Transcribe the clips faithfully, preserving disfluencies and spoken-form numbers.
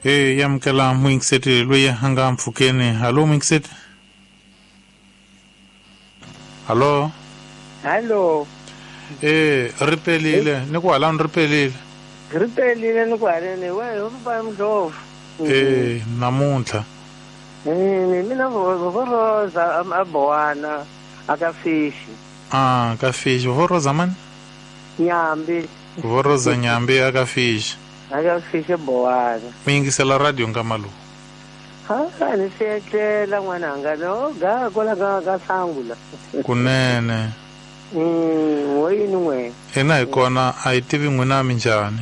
E yamukela muyingiseti loyi a nga mpfhukeni. Hallo muyingiseti. Hallo. Hallo. Eh ri pelile ni ku halani ri pelile. Ri pelile ni ku haleni we ho pa mdlovu. Eh namuntlha. Eh mina vo Rosa a Bowana aka fishi. Ah ka fishi vo Rosa mani? Nyambi. Vo Rosa Nyambi aka fishi. Aka fishi Bowana. Mi yingisela radio nkama lowu. Ha ni siyetlela n'wananga no ga kwala ka ka sangula. Kunene. Mm wo yini n'we? Hina hi kona a hi tivi n'wina minjhani.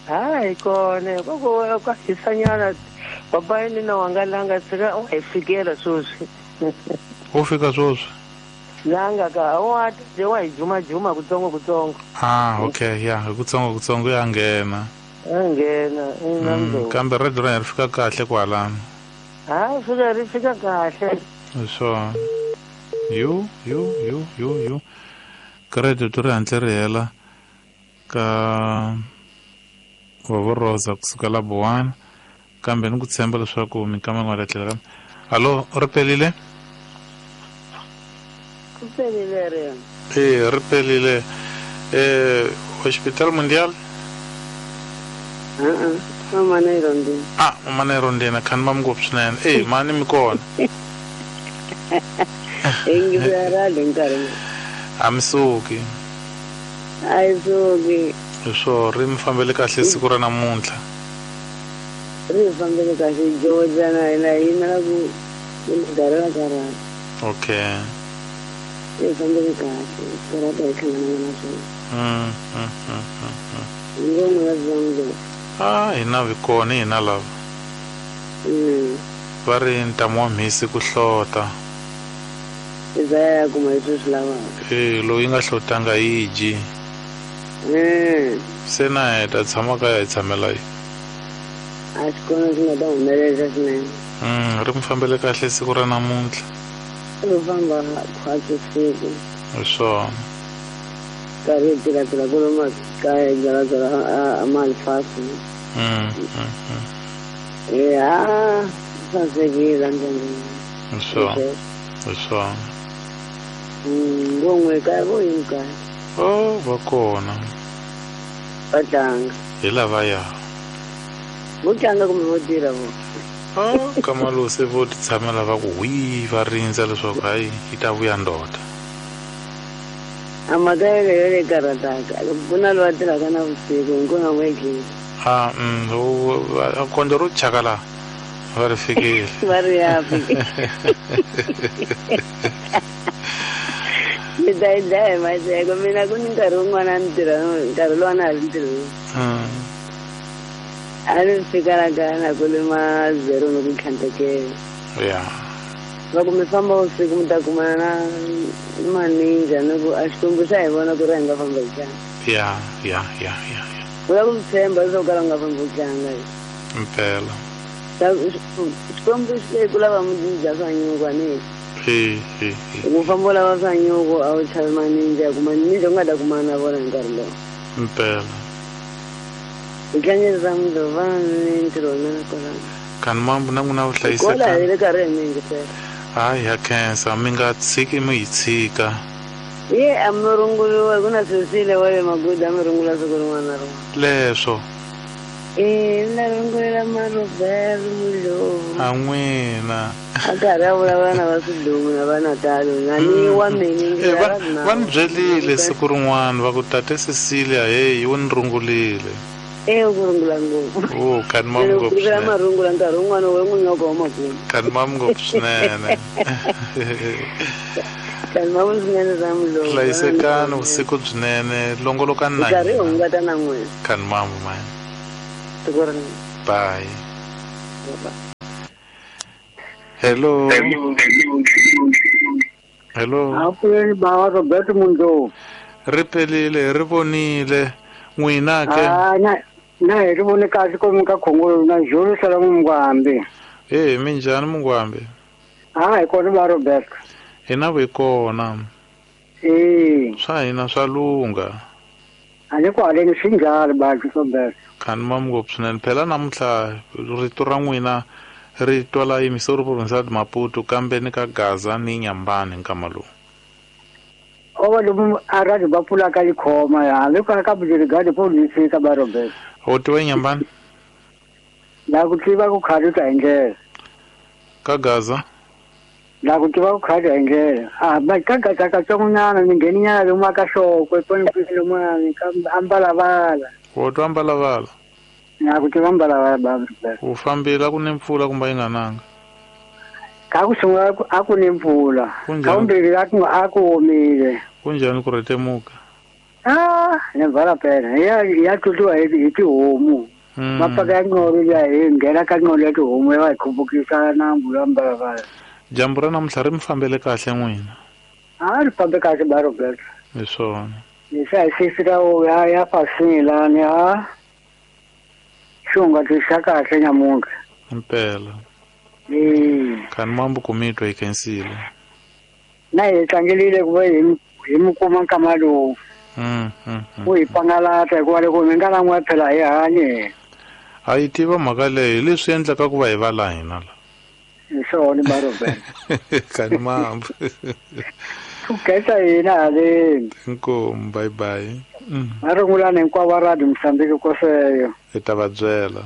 Ha hi kona koko ka hisanyana baba yini na wangalanga tsika u hi fikela sweswi. U fika sweswi? Langa ka wa je wa hi juma juma kutsongo kutsongo. Ah okay ya hi kutsongo kutsongo ya nghena. Ya nghena ina mdlovu. Kambe radio ra ri fika kahle kwalano. Ha fika ri fika kahle. So yu yu yu yu yu credit ri hantle ri hela ka Vovo Rosa kusuka la Bowana kambe ni ku tshemba leswaku minkama yin'wana tlhela kambe. Hallo ri pelile? Ri pelile ri. Eh ri pelile. Eh Hospital Mundial? Uh-uh. Mama na irondina. Ah mama na irondina khani ma ngopfu swinene. Eh mani mi kona. Engizarale nkarhi. A mi suki. A yi suki. Swo ri mi fambele kahle siku ra namuntlha. Ri fambele kahle Georgia na hina yimela ku karhala karhala. Okay. Ri fambele kahle karata hi hlangana na swona. Mm mm mm. Ngoma ya zangu. Ah hina vi kona hina lava. Mm. Va ri ntamu wa mhisi ku hlota. Izaya kuma leswi swi lavaka. Eh loyi nga hlotanga yi dyi. Mm. Se na heta tshama kaya hi tshamela yi. A swi kona swi nga ta humelela swinene. Mm ri mi fambele kahle siku ra namuntlha. Ri famba khwatsi siku. Hi swona. Karhi hi tilatila ku lomu kaya hi byalabyala a malifasi. Mm mm. Eh ah sasekile ndleleni. Hi swona. Hi swona. Mm ngongwe kaya vo yini kaya? Oh va kona. Va tlanga. Hi lavaya. Vo tlanga kumbe vo tirha vo? Ah kamalu se vo ti tshamela va ku hwi va rindza leswaku hayi yi ta vuya ndoda. A mhaka yeleyo leyi karhataka loko ku na loyi a tirhaka na vusiku hinkona n'we endlile. Ah mm kondlo ro chaka la va ri fikile. Va ri ya fika. Mi ta yi dlaya hi maseko mina ku ni nkarhi wun'wana a ni tirha nkarhi lowu a na ha ri ntirhweni. A ni fika la kaya na ku lima zero ni ku tlhantekela. Ya. Loko mi famba vusiku mi ta kumana na maninja ni ku a Xikwembu xa hi vona ku ri hi nga famba hi tlanga. Ya ya ya ya. U lava ku mi tshemba leswaku kala u nga fambi u tlanga. Mpela. Xikwembu xi le ku lava mi dya swa nyuku a ni. Eh eh. Ku famba u lava swa nyuku a wu chavi maninja ku maninja u nga ta kumana na vona hi nkarhi lowu. Mpela. Hi tlangela mundzuku va ni ntirho wa mina kwalano. Kani mambu na n'wina vuhlayiseka. Kwala hi le karhi hi mi yingisela. Hayi ya khensa mi nga tshiki mi hi tshika. Ye a mi runguriwa ku na Cecilia wa le Magudu a mi rungula siku rin'wana na rin'wana. Leswo. Eh na rungulela Marobert Mudlovu. A n'wina. A karhi a vulavula na va Swidumu na va Natal na ni wa mina va va ni byelile siku rin'wana va ku tate Cecilia hey wu ni rungulile. Eh ku rungula ngopfu. Oh kani ma ngopfu. Ku ma rungula nkarhi wun'wana we n'wi nyoko wa makumu. Kani ma ngopfu swinene. Kani ma swinene ra Mudlovu. Hlayisekani vusiku byinene longolokani na. Nkarhi hungata na n'wina. Kani mambu mani. Bye. Bye. Hello. Hello. Apuleni baba Robert Mundlovu. Ri pelile ri vonile n'wina ke. Ah na na hi ri vone kahle ko mi ka khongolo na Jolo sala Mungwambi. Eh minjhani Mungwambi? Ah hi kona ba Robert. Hina vi kona. Eh swa hina swa lungha. A ni ku haleni swi njhani baki Roberto? Khani mam ngopfu swinene phela namuntlha rito ra n'wina ri twala yimisori province ya Maputo kambe ni ka Gaza ni Nyambani nkama lowu. Ova lomu a radio va pfulaka yi khoma ya hambi ka ka brigade police ka ba Roberto. U tiva Nyambani? La ku tiva ku khali ta hi ndlela. Ka Gaza? La ku tiva ku khali hi ndlela. Ah ba ka Gaza ka tsongonyana ni ngheninyana lomu ka Xokwe poni lomu ka Ambalabala. U twa Ambalabala? Na ku tiva Ambalabala ba Roberto. U fambile ku ni mpfula kumbe yi nga nanga? Ka ku sungula a ku ni mpfula. Ka vumbirhi a ku a ku omile. Kunjhani ku rhetemuka? Ah, ni vala phela. Ya ya tlutiwa hi hi tihomu. Mapaka ya nqolo ya hi nghena ka nqolo ya tihomu ya va hi khupukisa nambu ya Ambalabala. Dyambu ra namuntlha ri mi fambele kahle n'wina? A ri fambe kahle ba Roberto. Hi swona. Leswi a hi sisika ya ya fasini lani a xunga xa kahle nyamuntlha. Impela. Eh. Khani mambo ku mi twa yi khensile. Na hi tlangelile ku va hi hi mi kuma nkama lowu. Mm, mm, Ku hi pangalata hikuva loko mi nga lan'wa phela hi hanye. A yi tiva mhaka leyi leswi endlaka ku va hi va la hina la. Hi swona ba Roberto. Khani mambo. Ku khensa hina haleni. Inkomu, bye bye. Mm. Va rungulani hinkwavo va radio Mozambique koseyo. Hi ta va byela.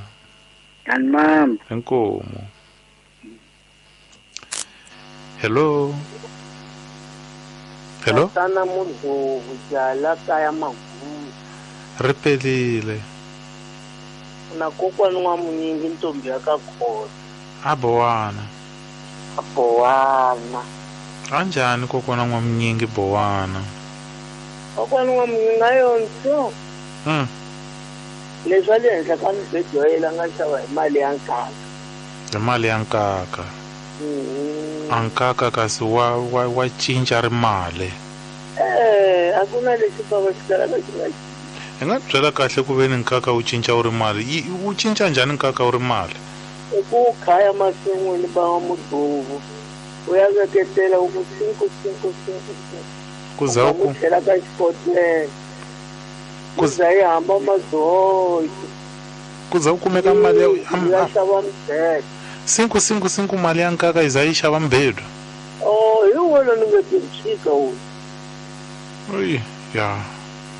Khani mambo. Inkomu. Hello. Hello. Tatana Mudhovu jala kaya Magugu. Ri pelile. Na kokwani wa munyingi ntombi ya ka khona. A bowana. A bowana. Kanjhani kokwana wa munyingi bowana? Kokwana wa munyingi a yonso. Mm. Leswi a le henhla ka mibedwa ya yena a nga xava hi mali ya nkaka. Hi mali ya nkaka. Mm. A nkaka kasi wa wa wa cinca ri mali. Eh, a ku na lexi bava xi kalaka xi nga Hi nga byela kahle ku ve ni nkaka wu cinca wu ri mali. Wu cinca njhani nkaka wu ri mali? I ku khaya masin'wini ba wa Mudhovu. U ya veketela u ku cinco cinco cinco. Ku za ku tlhela ka xikotela. Ku za yi hamba madzoki. Ku za ku kumeka mali ya ya xava mibedwa. Cinco cinco cinco mali ya nkaka yi za yi xava mibedwa. Oh, hi wona ni nga ti tshika wu. Oyi, ya.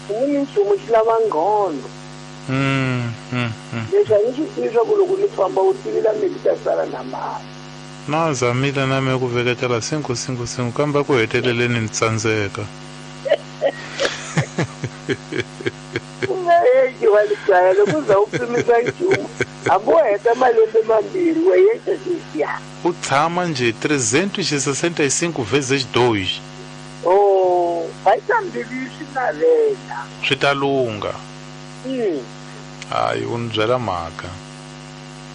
Ni nchumu xi lava nghondo. Mm, mm, mm. Leswi a ni swi tivi swa ku loko ni famba u tivila mi ta sala na mali. Na zamile na me ku veketela cinco cinco cinco kambe ku heteleleni ni tsandzeka. U nga heti wa le kaya loko u za u pimisa nchumu. Hambi wo heta malembe mambirhi wa yexe sweswiya. U tshama njhe trezentos e sessenta e cinco vezes dois. Oh, va ta mbilu swi navela. Swi ta lungha. Mm. Hayi u ni byela mhaka.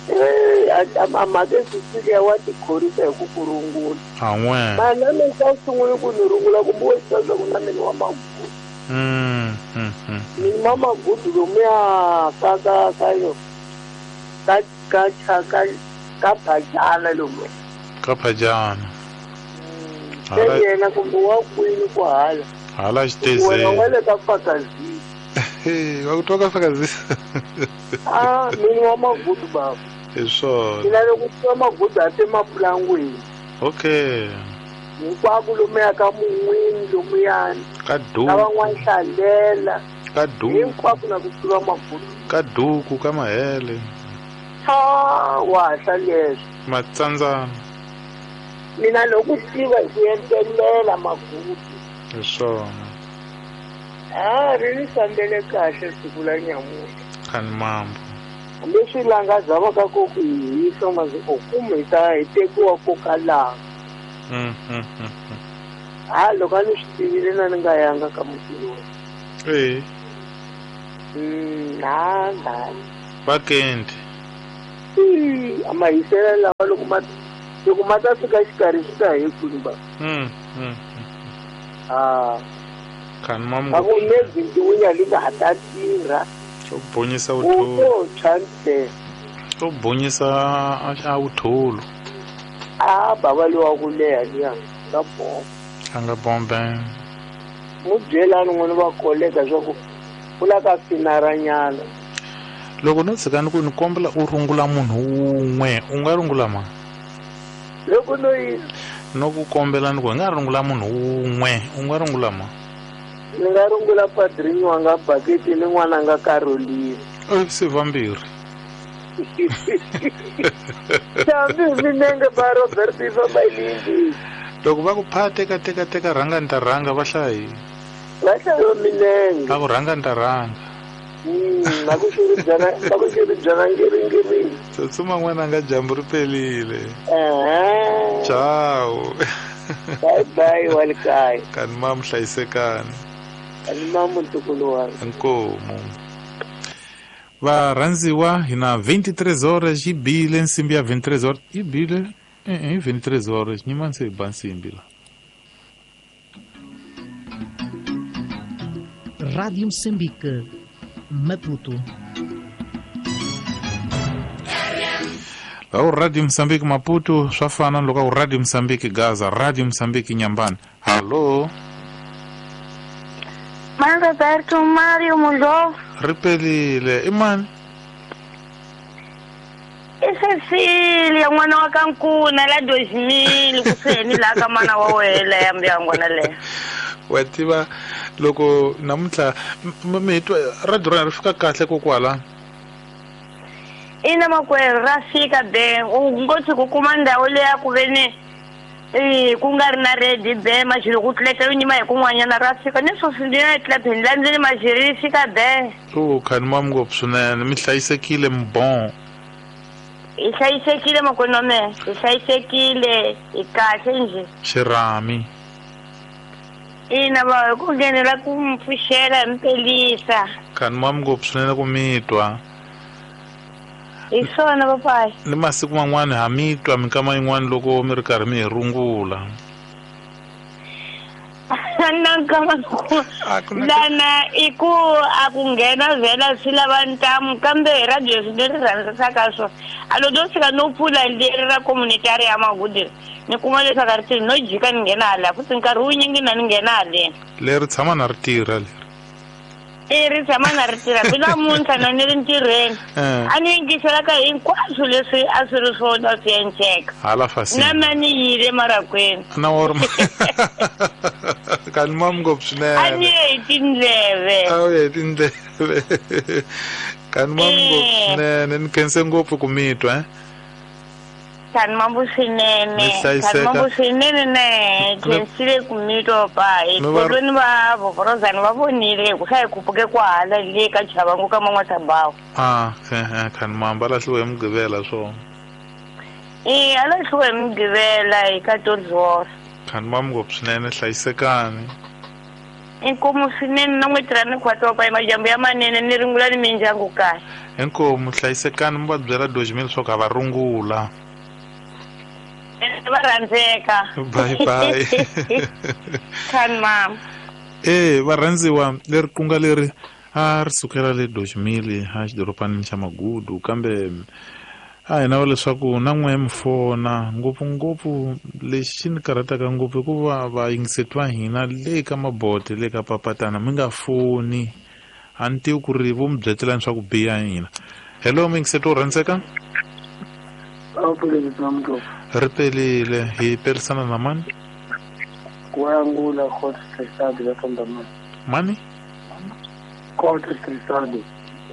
Eh, a a mhaka Cecilia wa tikhorisa hi ku ku rungula. A n'we. Mana mina xa sungula ku ni rungula kumbe wo swi swa ku na mina wa Magudu. Mm, mm, mm. Mina wa Magudu lomuya ka ka ka yo. Ka ka ka ka ka Phajana lomu. Ka Phajana. Se yena kumbe wa kwini ku hala. Hala xitezeni. Wena wa le ka Fakazini. Hey, wa ku twa ka Fakazini. Ah, mina wa Magudu baba. Hi swona. Mina loko ku Magudu a te mapulangwini. Okay. Hinkwako lomuya ka Mun'wini lomuyani. Ka duku. Ka van'wana Hlalela. Ka duku. Hinkwako na ku tiva Magudu. Ka duku ka Mahele. Ha, wa hla leswi. Matsandzana. Mina loko tiva hi ku entelela Magudu. Hi swona. Ah, ri ni fambele kahle siku la nyamuntlha. Khani mambo. Leswi langazavaka ku ku hi hisa masi u kumbe hi ta hi tekiwa ko ka laha. Mm, mm, mm. Ha loko a ni swi tivile na ni nga yanga ka mutini wa. Eh. Mm, na na. Vakendi. Eh, a mahisela lawa loko ma loko ma ta fika xikarhi swi ta hi kwini ba. Mm, mm. Ah. Khani mambo. A ku ne ntiwinya li nga ha ta tirha. To bonyisa uthulu. U to To bonyisa a uthulu. Ah, baba lowa ku leha liya ka bombe. A nga bombe. Mu byelani n'wina va koleka swa ku U la ka finaranyana. Loko no tshika ni ku ni kombela u rungula munhu wun'we u nga rungula ma? Loko no yi no ku kombela ni ku hi nga rungula munhu wun'we u nga rungula ma? Ni nga rungula padrini wa nga baketi ni n'wana nga Caroline. Eh se vambirhi. Xambi minenge ba Robert va Mailindi. Loko va ku pha teka teka teka rhanga ni ta rhanga va hlayi. Va hlayo minenge. Va ku rhanga ni ta rhanga. Mm, na ku xiribyana na ku xiribyana ngiringiri. Tsutsuma n'wana nga dyambu ri pelile. Eh. Ciao. Bye bye walikaya. Kani mamu hlayisekani. Kani mamu ntukulu wa. Inkomu. Varhandziwa hi na vinte e três horas yi bile nsimbi ya vinte e três horas yi bile eh vinte e três horas nyima se ba nsimbi la. Rádio Moçambique, Maputo. O Rádio Moçambique Maputo swa fana loko Rádio Moçambique Gaza, Rádio Moçambique Nyambani. Hallo. Man Roberto Mario Mulo. Ripelile imani. I Cecilia n'wana wa ka Nkuna la dois mil kuseni la ka mana wa wena ya mbyangu na le. Wa tiva loko namuntlha mi twa radio ra ri fika kahle kokwala. Ina makwerhu ra fika be u ngo tshuka u kuma ndhawu leya ku ve ni eh ku nga ri na ready be maxilo ku tleka yo nyima hi kun'wanyana ra fika ni sweswi ndi na tlapheni la ndzeni maxiri yi fika be. O khani mam ngopfu swinene mi hlayisekile mi bon. Hi hlayisekile makwenu wa mehe hi hlayisekile hi kahle njhe. Xirhami. Ina va hi ku nghenela ku mi pfuxela hi mi pelisa. Khani mam ngopfu swinene ku mi twa. Hi swona papayi. Ni masiku man'wani ha mi twa minkama yin'wani loko mi ri karhi mi hi rungula. Na nkama lana i ku a ku nghena vhela swi lava ntamu kambe hi radio swi leri rhandzisaka swona a lo do fika no pfula leri ra communitary ya Magudi ni kuma leswaku a ri tirhi no jika ni nghena hala futhi nkarhi wunyingi na ni nghena haleni. Leri tshama na ri tirha leri. I ri tshama na ri tirha bi namuntlha na ni ri ntirhweni a ni yingisela ka hinkwaswo leswi a swi ri swona swi enceka. Hala fasini. Na mina ni yile marakweni. Na wa ri kani mam ngopfu swinene. A ni ye hi tindleve. A wu ye hi tindleve. Kani mam ngopfu swinene ni khense ngopfu ku mi twa eh. Kani mambu swinene. Kani mambu swinene ne khensile ku mi twa pa hi kolweni va vovorozani va vonile ku swa hi khupuke kwahala le ka Chavangu ka Man'watabawu. Ah eh kani mamba lahliwe hi Mugqivela swona. Eh a lahliwe hi Mugqivela hi quatorze horas. Kani mam ngopfu swinene hlayisekani. Inkomu swinene na n'we tirha ni khwatwa pa majambu ya manene ni ringula ni mindyangu kahle. Inkomu hlayisekani mi va byela dois mil leswaku a va rungula. Va rhandzeka. Bye bye. Kani mam. Eh varhandziwa leri kunga leri a ri sukela le dois mil a xidorobanini xa Magudu kambe a hi na leswaku na n'we mi fona ngopfungopfu lexi xi ni karhataka ngopfu hikuva vayingiseti va hina le ka mabote le ka papatana mi nga foni a ni tivi ku ri vo mi byetelani swa ku biha hina. Hello muyingiseti wo rhandzeka. Ri pelile hi perisana na mani? Kuangula Court Trisado ya Sondamani. Mani? Court Trisado.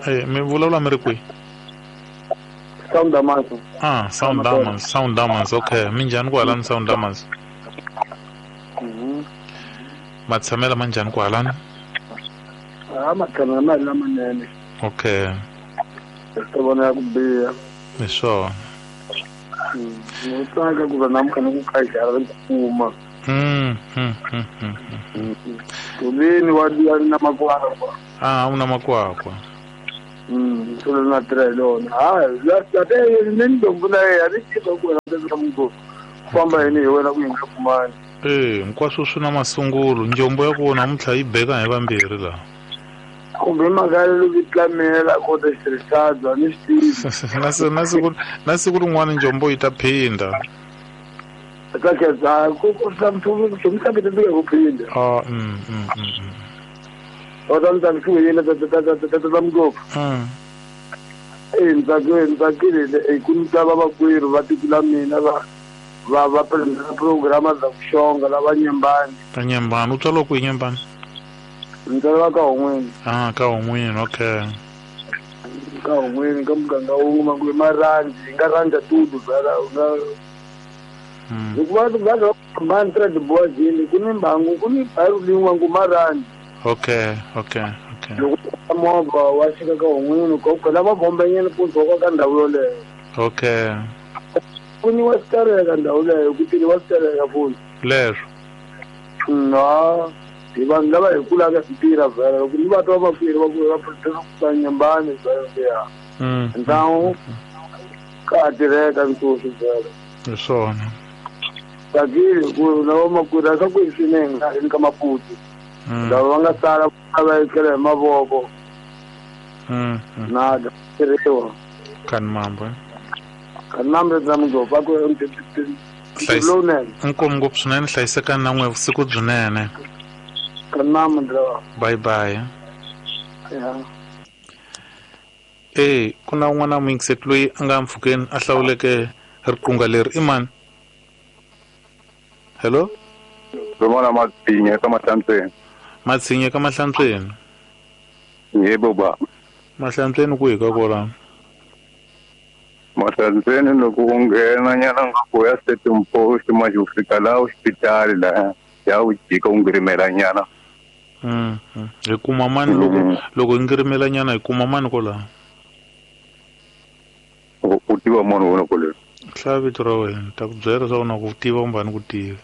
Eh mi vulavula mi ri kwihi? Sound Damas. Ah, Sound Damas, Sound Damas, okay. Minjhani kwalani Sound Damas? Mhm. Matshamela manjhani kwalani? Ah, matshamela mali lamanene. Okay. Swi vona ku biha. Hi swona. Ni tsaka ku va namuntlha ni ku khaxara ri kuma. Mm, mm, mm, mm. Kulini wa diya na makwakwa. Ah, una makwakwa. Mm, solo na tirha hi lona. Ah, la la te ni ndombu na yena ni tiva ku wena ka mungu. Famba yini hi wena ku yinga kumani. Eh, hinkwaswo swi na masungulo. Njombo ya ku namuntlha yi beka hi vambirhi laha. Kumbe mhaka loko yi tlamela ko ta xitirhisana ni swi tivi. Na na siku na siku rin'wana njombo yi ta phinda. Ka khetsa ku ku swa mfumo ku mi ta ku phinda. Ah, mm mm mm. Kota ni tsakisiwile tata Mngopfu. E ni tsakile ni tsakile hi ku ni twa vamakwerhu va tiko la mina va va va presenta programa za ku xonga lava Nyembani. Ta Nyembani u tswariwa kwihi Nyembani? Ni tswariwa ka Hon'wini. Ah, ka Hon'wini, okay. Ka Hon'wini ka muganga wun'we manguve marhandzi hi nga rhandza tudu vhela u nga hikuva vanhu va hambani trade ku ni mbangu ku ni bhayiru lin'we ngu marhandzi. Okay, okay, okay. Loko movha wa xika ka Hon'wini ko khona va bombenyana mpundzu wa ka ndhawu yoleyo. Okay. Ku ni wa xitereka ndhawu leyo ku tini wa xitereka futhi. Leswo. No, hi vanhu lava hi kulaka hi tirha vhela loko ni va twa vamakwerhu va ku va protesta ku Nyembani vhela ya. Ndhawu ka tirheka nkosi vhela. Hi swona. Tsakile ku na vamakwerhu a swa ku swinene nga ri ka Maputo. Lava va nga sala va etlela hi mavoko. Na tirhiwa. Kan mambo. Kan mambo tsa Mngopfu va ku lowunene. Inkomu ngopfu swinene hlayisekani na n'we vusiku byinene. Kan mambo ndra. Bye bye. Yeah. Eh, ku na un'wana muyingiseti loyi a nga mpfhukeni a hlawuleke riqingho leri i mani? Hello? Rin'wana Matsinye ka Mahlantsweni. Matsinye ka Mahlantsweni? Yebo ba. Mahlantsweni kwihi ka kona? Mahlantsweni loko u nghena nyana nga ku ya Setum Post manje u fika laha hospitali laha ya u jika u ngirimela nyana. Mm. Hi kuma mani loko loko hi ngirimela nyana hi kuma mani kwalaho? U tiva munhu wona kwale. Hlaya vito ra wena ni ta ku byela leswaku na ku tiva kumbe a ni ku tivi.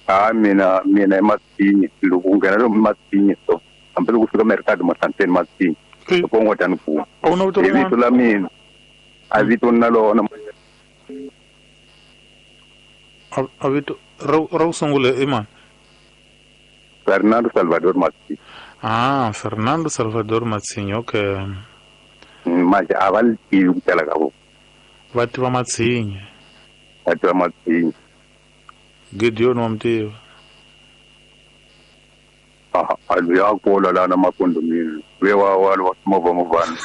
Ah mina mina i Matsinye loko u nghena lomu Matsinye so hambi loko u fika Mercado Mahlantsweni Matsinye loko u ngo ta ni kuma. A wu na vito I vito la mina a vito na lona. A vito ra ra ku sungula i mani? Fernando Salvador Matsinye. Ah, Fernando Salvador Matsinye, okay. Manje a va li tivi ku tala ka vona. Va tiva Matsinye. Va tiva Matsinye. Gideon wa mi tiva? Ah, a loyi a kula laha na makondomini luya wa wa wa movha movhana.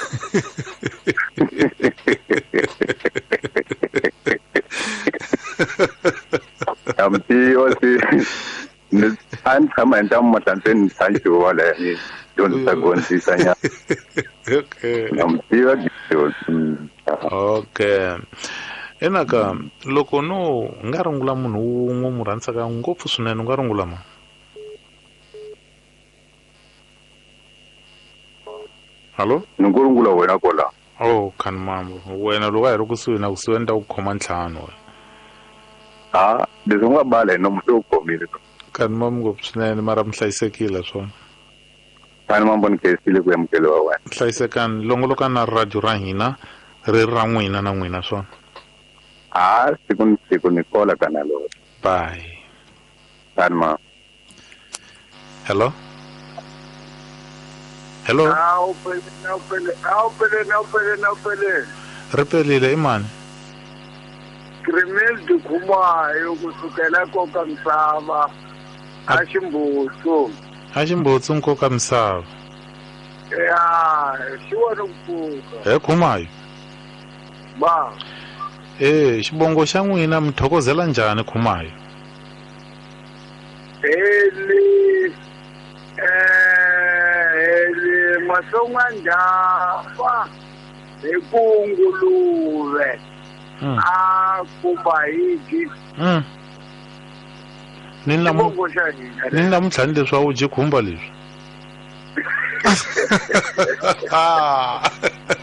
Ya mi tiva se ni a ni tshama hi ntamu Mahlantsweni ni tshantxiwa wala ni dyondzisa gondzisa nyana. Okay. Na mi tiva Gideon. Okay. Enaka loko no nga rungula munhu wun'we mu rhandzaka ngopfu swinene u nga rungula mani? Hallo? Ni ngo rungula wena kwala. Oh, kan mambo. Wena loko a hi ri kusuhi na kusuhi ni ta ku khoma ntlhanu wena. Ah, leswi u nga bala hi nomu se u khomile. Kan mambo ngopfu swinene mara mi hlayisekile swona. Kan mambo ni khensile ku amukeliwa wena. Hlayisekani longoloka na radio ra hina ri ra n'wina na n'wina swona. Ah, siku ni siku ni kola kana lo. Bye. Kan ma. Hello? Hello? Awu pele, awu pele, awu pele, awu pele, awu pele. Ri pelile i mani? Krimel Dukhumayo kusukela nkoka misava a Ximbutsu. A Ximbutsu nkoka misava. Ya, xi wona ku pfuka. He Khumayo. Ba. Eh, xibongo xa n'wina mi thokozela njhani Khumayo? Eli eh eli mahlongwa ndhafa hi ku nguluve. A kumba hiji. Mm. Ni namu ni namuntlha ni leswi a wu dyi khumba leswi.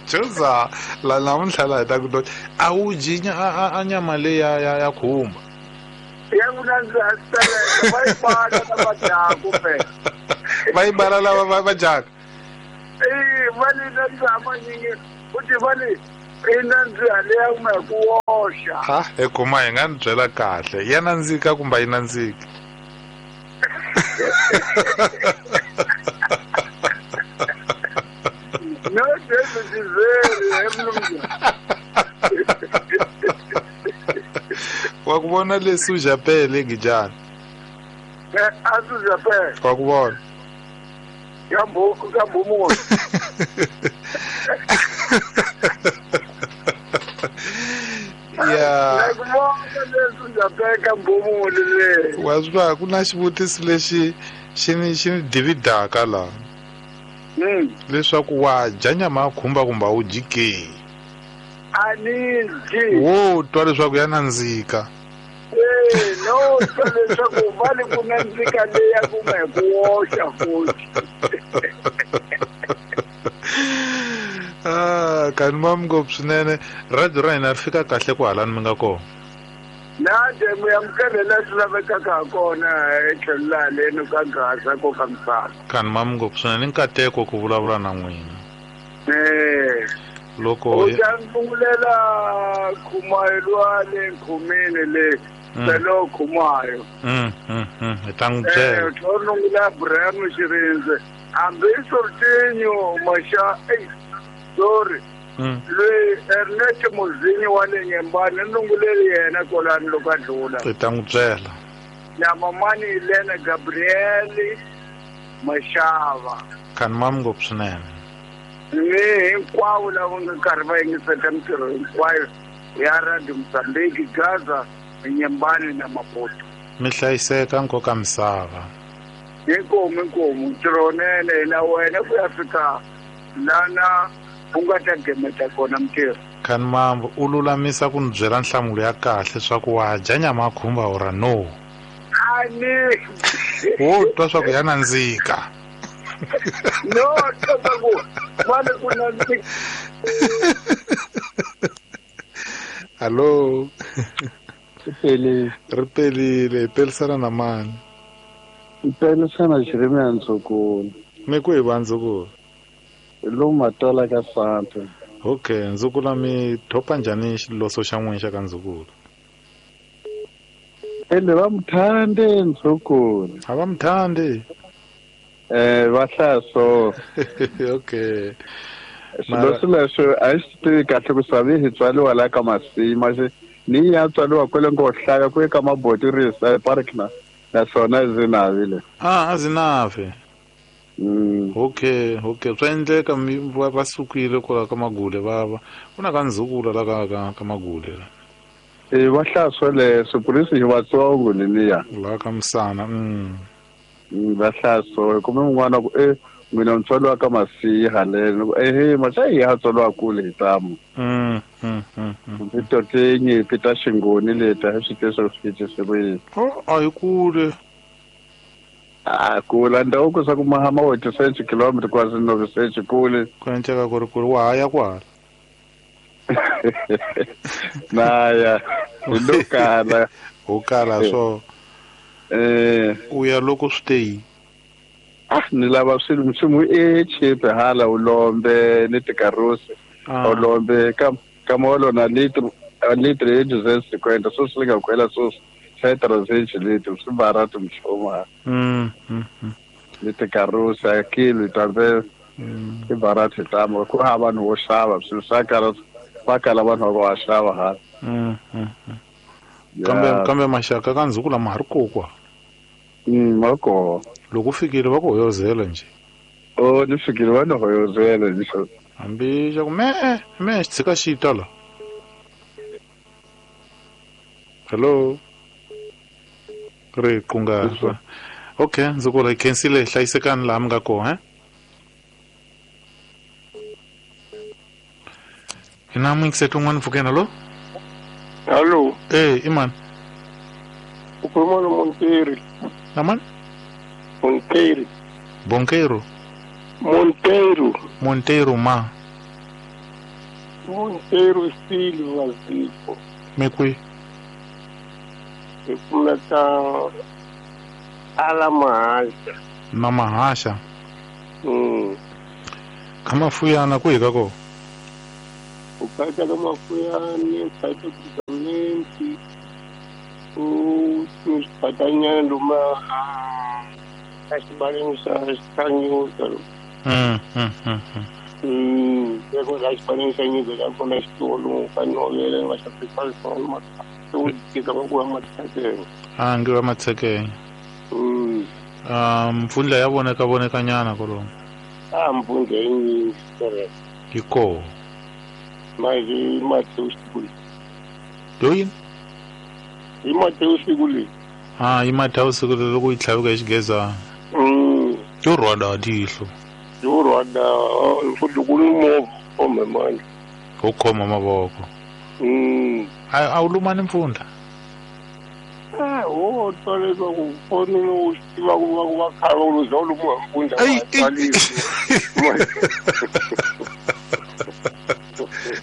Chuza la namuntlha la hi ta ku a wu dyi a nyama leyi ya ya ya khumba. Ya ku nandziha swi va yi bala lava dyaka phela. Va yi bala lava va va dyaka. Eh, va li nandziha manyingi futhi va li i nandziha leya kuma hi ku oxa. Ha, he kuma hi nga ni byela kahle. Ya nandzika kumbe a yi nandziki? No, David is very mnumzana. Wa ku vona leswi u japele ngijani? Eh, a swi japele. Wa ku vona. Ka mbo ka mbomo. Ya. Wa swi ku na xivutiso lexi xi ni xi ni dividaka la. Mm. Leswaku wa dya nyama ya khumba kumbe a wu dyi ke? A ni dyi. Wo twa leswaku ya nandzika. Eh, no, twa leswaku va le ku nandzika leya kuma hi ku woxa futhi. Ah, kani mam ngopfu swinene. Radio ra hina ri fika kahle ku halani mi nga kona. Na demu ya mukele swi lavekaka ha kona etlhelo laha leni ka Gaza ko ka misava. Kani mam ngopfu swinene, nkateko ku vulavula na n'wina. Eh. Loko u ta ngungulela Khumayo lwa le Nkhumeni le Selo Khumayo. Mm mm mm hi ta n'wi byela. Eh, tlhonungula Abraham Xirindze. Hambi Sortinho Masha, eh, sorry. Loyi Ernest Muzinyi wa le Nyembani nunguleli yena kwalani loko a dlula. Hi ta n'wi byela. Na mamani Elena Gabriel Mashava. Kani mam ngopfu swinene. Ni hinkwavo lava nga karhi va yingisela mintirho hinkwayo ya Radio Mozambique, Gaza, Nyembani na Maputo. Mi hlayiseka nkoka misava. Inkomu inkomu ntirho wunene na wena ku ya fika lana u nga ta gemeta kona mintirho. Kani mambo u lulamisa ku ni byela nhlamulo ya kahle swa ku wa dya nyama ya khumba ora no. A ni wo twa swa ku ya nandzika. No, twa swa ku va le ku nandzika. Hallo. Ri pelile. Ri pelile, hi pelisana na mani? Hi pelisana Jeremia Ndzukulu. Mi ku hi va Ndzukulu? Hi lomu Matola ka Santa. Okay, Ndzukulu mi thopa njhani xiloso xa n'wina xa ka Ndzukulu? Ende va muthande Ndzukulu. A va muthande? Eh, va hlaya so. Okay. Xiloso lexo a xi tivi kahle ku swa hi tswariwa la ka Masima xi ni ya tswariwa kwele ngo hlaya ku eka Mabotirisa park na naswona Zinavi le. Ah, a Zinavi. Mm. Okay, okay. Swa endleka va sukile kwala ka Magule va va ku na ka Ndzukulu la ka ka ka Magule la. Eh, va hlaya swoleswo purisi hi vatsongo leliya. La ka Msana. Mm. Va hlaya so kumbe un'wana ku eh mina ntswalo ka Masiha leno eh maxa hi ya tswalo kule hi tamu. Mm mm mm. Pito tinyi pita xingoni leta hi swi tivisa swi tivisa ku yini. Oh, a hi kule. Ah, kula ndhawu ku swa ku mahama wa twenty kilometers kwa no research kule. Ku endleka ku ri kule wa ha ya kwala. Na ya hi lo kala. Ho kala so. Eh, u ya loko swi te yini? Ah, ni lava swilo nchumu e cheap hala u lombe ni tikarosi. U lombe ka ka molo na litro litro e duzentos e cinquenta so swi nga kwela so sai trezentos litros swi barato mchoma. Mm mm. Ni tikarosi a kilo talvez i barato tamo ku ha vanhu vo xava swilo swa kala va kala vanhu va xava hala. Mm. Kambe kambe maxaka ka Ndzukulu ma ha ri kokwa. Mm, ma kona. Loko fikile va ku hoyozela nje. Oh, ni fikile va ni hoyozela nje. Hambi xa ku me me xi tshika xi ta la. Hello. Ri kunga. Okay, Ndzukulu hi khensile hlayisekani laha mi nga kona, eh? Ina muyingiseti un'wana mpfhukeni, hallo? Hallo. Eh, i mani? U khuluma na Monteiro. Na mani? Monteiro. Bonqueiro? Monteiro. Monteiro ma? Monteiro Silva Zico. Me kwihi? Hi kumeka ala Mahasha. Na Mahasha? Mm. Ka Mafuyana kwihi ka kona? U phaka ka Mafuyani, u phaka Tisamenti, u swibatanyana luma ka xibaleni xa xa Nyuka. Mm mm mm. Mm, loko la xibaleni xa Nyuka ka kona xitolo ka nhovela va xavisa swona u tika va ku va matshekeng. Ah, ngi va matshekeng. Mm. Um, mpfundla ya voneka vonekanyana kolomo. A mpfundla yi nyingi correct. Yi koho. Manje i Mateus siku leyi. Yo yini? I Mateus siku leyi. Ah, i Mateus siku leyi loko yi tlhaveka hi xigezana. Mm. Yo rhwada tihlo. Yo rhwada futhi ku ni movha khome manje. Wo khoma mavoko. Mm. A a wu lumani mpfundla? Eh, wo twa leswaku foni u swi tiva ku va ku va khale va ku za u lumiwa hi mpfundla wa ha tswalisi.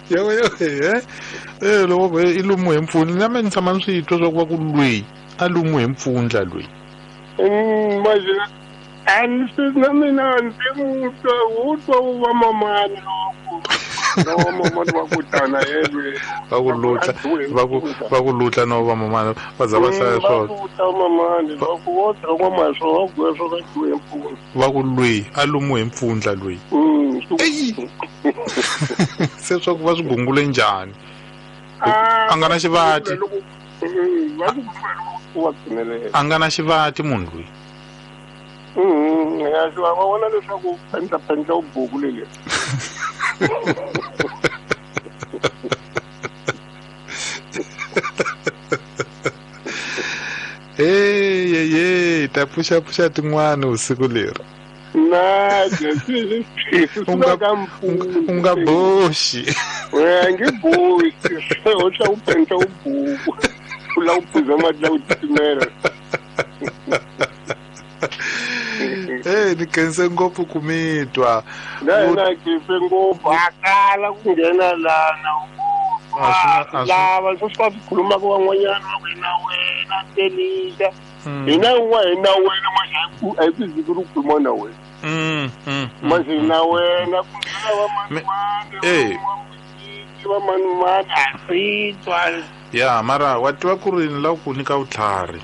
Yo yo eh eh loko i lumiwe hi mpfundla na mina ni tshama ni swi twa swa ku va ku lweyi a lumiwe hi mpfundla lweyi. Mm, manje a ni swi na mina ndzi mu twa wu twa wu va mamani loko no mamani va ku tana yelwe va ku lutla va ku va ku lutla no va mamani va za va hlaya swona. Va ku mamani va ku wo twa maswo va ku swo ka dyiwe hi mpfundla. Va ku lweyi a lumiwe hi mpfundla lweyi. Mm. Se swa ku va swi gungule njhani? A nga na xivati. Va ku va pfumelela. A nga na xivati munhu loyi. Mm, ya swi va vona leswaku pendla pendla u buku leli. Hey, hey, hey, ta pfuxa pfuxa tin'wana usiku leri. Na, U nga u nga boxi. We nge boxi. U tla u pendla u buku. U la u phuza mati la u titimela. Eh, ni khense ngopfu ku mi twa. Na na khense ngopfu a kala ku nghena lana. Lava swi swa khuluma ku van'wanyana va ku na wena telisa. Hina un'wana hi na wena manje a hi ku ziki ri khuluma na wena. Mm, mm. Manje na wena ku nghena va manimani. Eh. Va manimani a swi twa. Ya, mara wa tiva ku ri ni lava ku nyika vutlhari.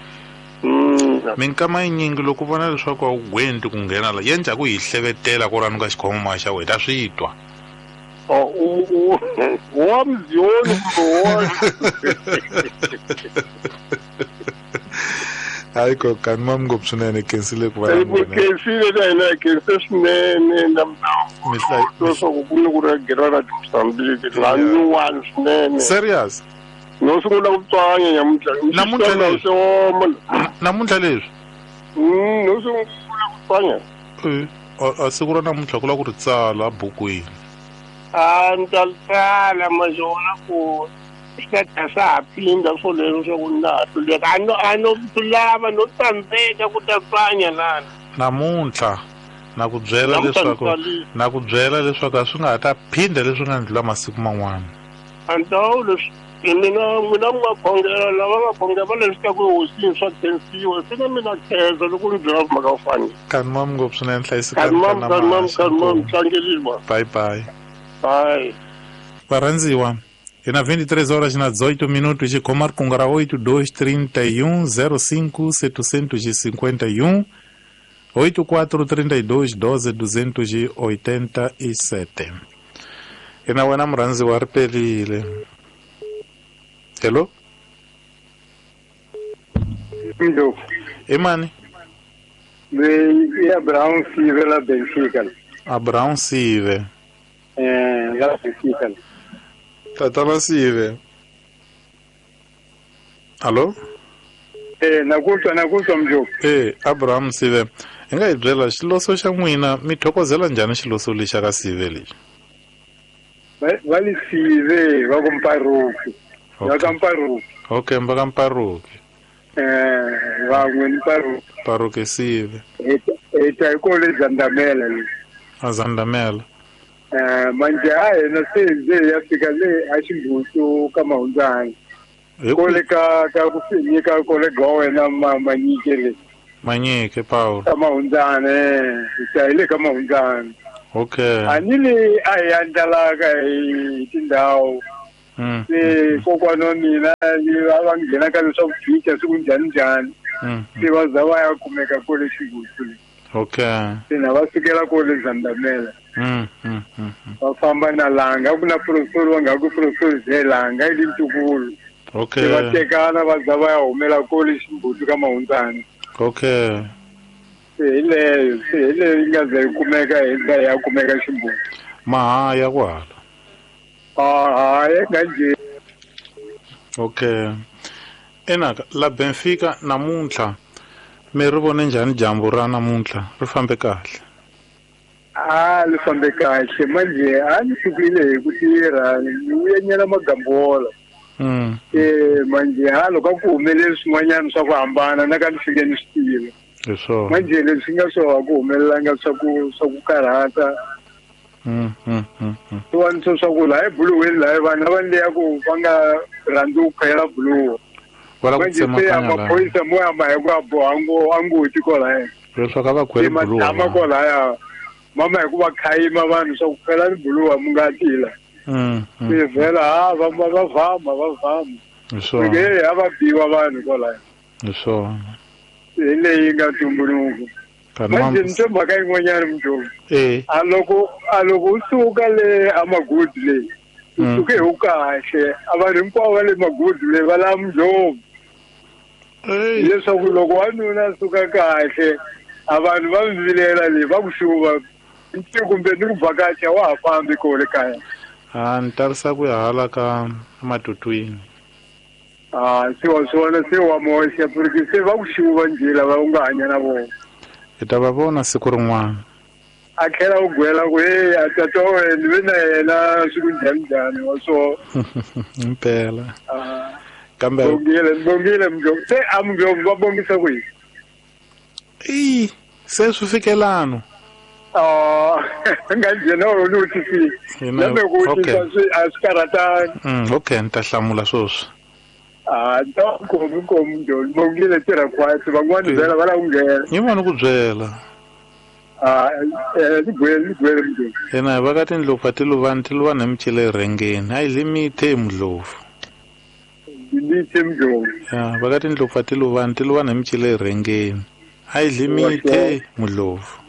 Minkama yinyingi loko u vona leswaku a wu gwenti ku nghena la ya njhaku hi hlevetela ku rani ka xikhoma xa wena ta swi twa. Oh, u wa mziyoni kumbe Hayi ko kani mam ngopfu swinene khensile ku va na n'wina. Khensile na hina khense swinene na leswaku ku ni ku ri gera ra Mozambique la nyuwani swinene. Serious? No sungula ku tswanya nyamuntlha. Namuntlha leswi. Namuntlha leswi. Mm, no sungula ku tswanya. Eh, a siku ra namuntlha ku la ku ri tsala bukwini. A ni ta tsala majona ku swi ta sa ha phinda swo leswo swa ku na ha hluleka. A no a no lava no tsandzeka ku ta tswanya lana. Namuntlha na ku byela leswaku na ku byela leswaku a swi nga ha ta phinda leswi nga ndlula masiku man'wana. Antawu leswi mina mina mi nga khongela lava nga khongela va leswi ka ku hosini swa khensiwa se na mina khensa loko ni byela mhaka yo fana. Kani mam ngopfu swinene hlayisekani. Kani mam kani mam kani mam tlangeliwa. Bye bye. Bye. Varandziwa hi na vinte e três horas na dezoito minutos xikhoma riqingho ra oito dois trinta e um zero cinco setecentos e cinquenta e um oito quatro trinta e dois doze duzentos e oitenta e sete. Hi na wena murhandziwa ri perile. Hello? Hello. Imani? Me Abraão Sive la Benfica. Abraão Sive. Eh, la Benfica. Tatana Sive. Allo? Eh, nakutwa nakutwa mjoko. Eh, Abraham Sive. Hi nga hi byela xiloso xa n'wina mi thokozela njhani xiloso lexa ka Sive lexi? Va li Sive va ku Mparuki. Va ka Mparuki. Okay, va ka Mparuki. Eh, va n'we Mparuki. Mparuki Sive. E ta hi kole Zandamela le. A Zandamela. Eh, manje a hina se nje ya fika le a Ximbutu ka Mahundzani. Kole ka ka ku nyika kole ga wena Manyike le. Manyike Paul. Ka Mahundzani, ta hi le ka Mahundzani. Okay. A ni le a hi andlalaka hi tindhawu. Mm. Se kokwana wa mina va va nghena ka leswa ku siku njhani njhani. Se va za va ya kumeka kole Ximbutu le. Okay. Se na va sukela kole Zandamela. Mm, mm, mm. Va famba na Langa ku na professor wa nga ku professor Zelanga i ntukulu. Okay. Se va tekana va za va ya humela kole Ximbutu ka Mahundzani. Okay. Se hi leyo se hi leyo yi nga ze yi kumeka hi ndlela ya kumeka ximbuti. Mahaya kwala. Ah, hayi nga Okay. Enaka la Benfica namuntlha mi ri vone njhani dyambu ra namuntlha ri fambe kahle? Ah, ri fambe kahle manje a ni sukile hi ku tirha ni vuyenyela magambola. Mm. Eh manje ha loko ku humelele swin'wanyana swa ku hambana na ka ni fike ni swi tiva. Hi swona. Manje leswi nga swo ku humelelanga swa ku swa ku karhata. Mm mm mm. Swin'wana swa ku laha ebuluweni laha vanhu lava leya ku va nga rhandzi ku khwela buluwa. Wala ku tsemakanya la. Maphorisa mo ya ma hi ku a boha ngo a ngoti kwalaya. Leswaku a va khweli buluwa. Tshama kwalaya. Mama hi ku va khayima vanhu swa ku khwela ni buluwa mu nga tila. Mm. Se vhela ha va va va vama va vama. Hi swona. Ke a va biwa vanhu kwalaya. Hi swona. Hi leyi nga tumbuluka. Manje ni twe mhaka yin'wanyana Mdlovu. Eh. A loko a loko u suka le amagudi le. U suke hi u kahle. A vanhu hinkwavo va le magudi le va la Mdlovu. Leswaku loko wanuna a suka kahle a vanhu va vilela le va ku xuva kumbe ni ku vhakacha wa ha fambi kole kaya. Ah, ni tarisa ku ya hala ka matutwini. Ah, se wa swona se wa moxa porque se va ku xuva njhe lava u nga hanya na vona. Hi ta va vona siku rin'wana. A tlhela u gwela ku hey a tata wa wena ni ve na yena siku njhani njhani wa so. Impela. Ah. Kambe bongile bongile Mdlovu se a Mdlovu va bongisa ku yini? I se swi fikelano. Ah, nga njhena u ni vutisi. Kambe ku vutisa swi a swi karhatani. Mm, okay, ni ta hlamula sweswi. Ah, ta komi komi Mdlovu bongile tirha khwatsi van'wana byela va la ku nghena. Ni vona ku byela. Ah, eh ni gwele ni gwele Mdlovu. Yena va ka tindlopfu ti luvani ti luvani hi micele erhengeni a yi limithe Mdlovu. Limithe Mdlovu. Ya, va ka tindlopfu ti luvani ti luvani hi micele erhengeni a yi limithe Mdlovu.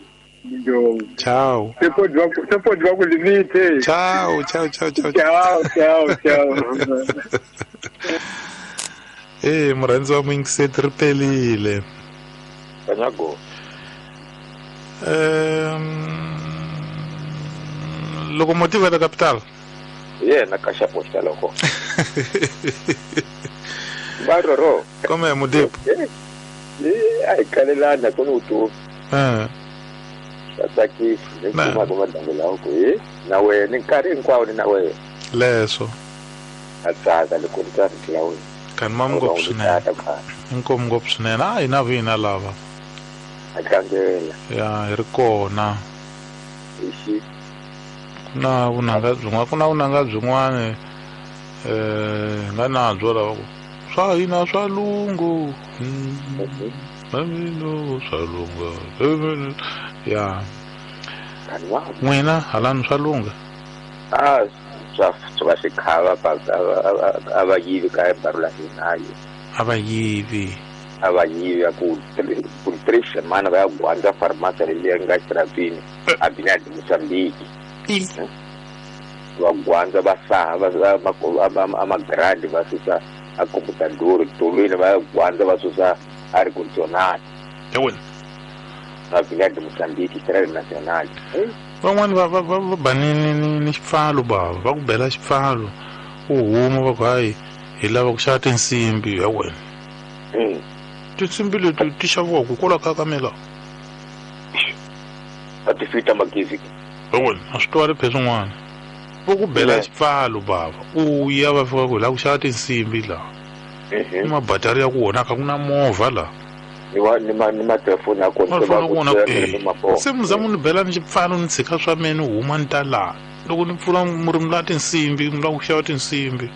Mdlovu. Ciao. Se pode va se pode va ku limithe. Ciao, ciao, ciao, ciao. Ciao, ciao, ciao. Eh, murhandzi wa muyingiseti ri pelile. Kanyago. Um, locomotiva da capital. Yena ka xa posta loko. Baroro. Come Mudipo? Eh, ai kalelana ku ni tu. Eh. Tsakisi, ni kuma ku madangela ku eh na wena nkarhi hinkwawo ni na wena. Leswo. A tsaka loko ni twa rito la wena. Kan mam ngopfu swinene. Inkomu ngopfu swinene. A hina vina lava. A tlangela. Ya, hi ri kona. Ixi. Ku na vunanga byin'wana, ku na vunanga byin'wana eh nga na byo lava ku swa hina swa lungu. Mamino swa lunga. Ya. N'wina halani swa lunga. Ah, swa swa xikhava a va yivi ka baro la hina. A va yivi. A va yivi ya ku ku três semanas va ya gwandza farmácia leyi nga xirapini a bina de Moçambique. Va gwandza va saha va amagrandi va susa a computador tolweni va gwandza va susa ar condicionado. Yawena. A bina de Moçambique Estrada Nacional. Van'wani va va va ba ni ni ni xipfalo bava va ku bela xipfalo u huma va ku hayi hi lava ku xava tinsimbi ya wena. Tinsimbi leti ti xaviwaka kwala ka kamela. A ti fita magezi. Ya wena a swi twali phe swin'wana. Va ku bela xipfalo bava u ya va fika ku hi lava ku xava tinsimbi laha. Ni mabatari ya ku onhaka ku na movha laha. Ni wa ni ma ni ma telefoni ya kona va ku se muzamu ni bela ni xipfalo ni tshika swa mina ni huma ni ta laha loko ni pfula murimi la tinsimbi mi lava ku xava tinsimbi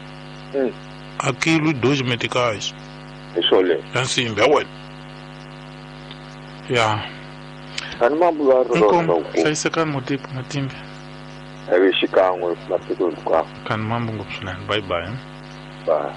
a kilo dois meticais hi swoleswo ya nsimbi ya wena ya ani mambo hlayisekani Modipo Matimbe evi xikan'we masiku hinkwawo kani mambo ngopfu swinene bye bye bye.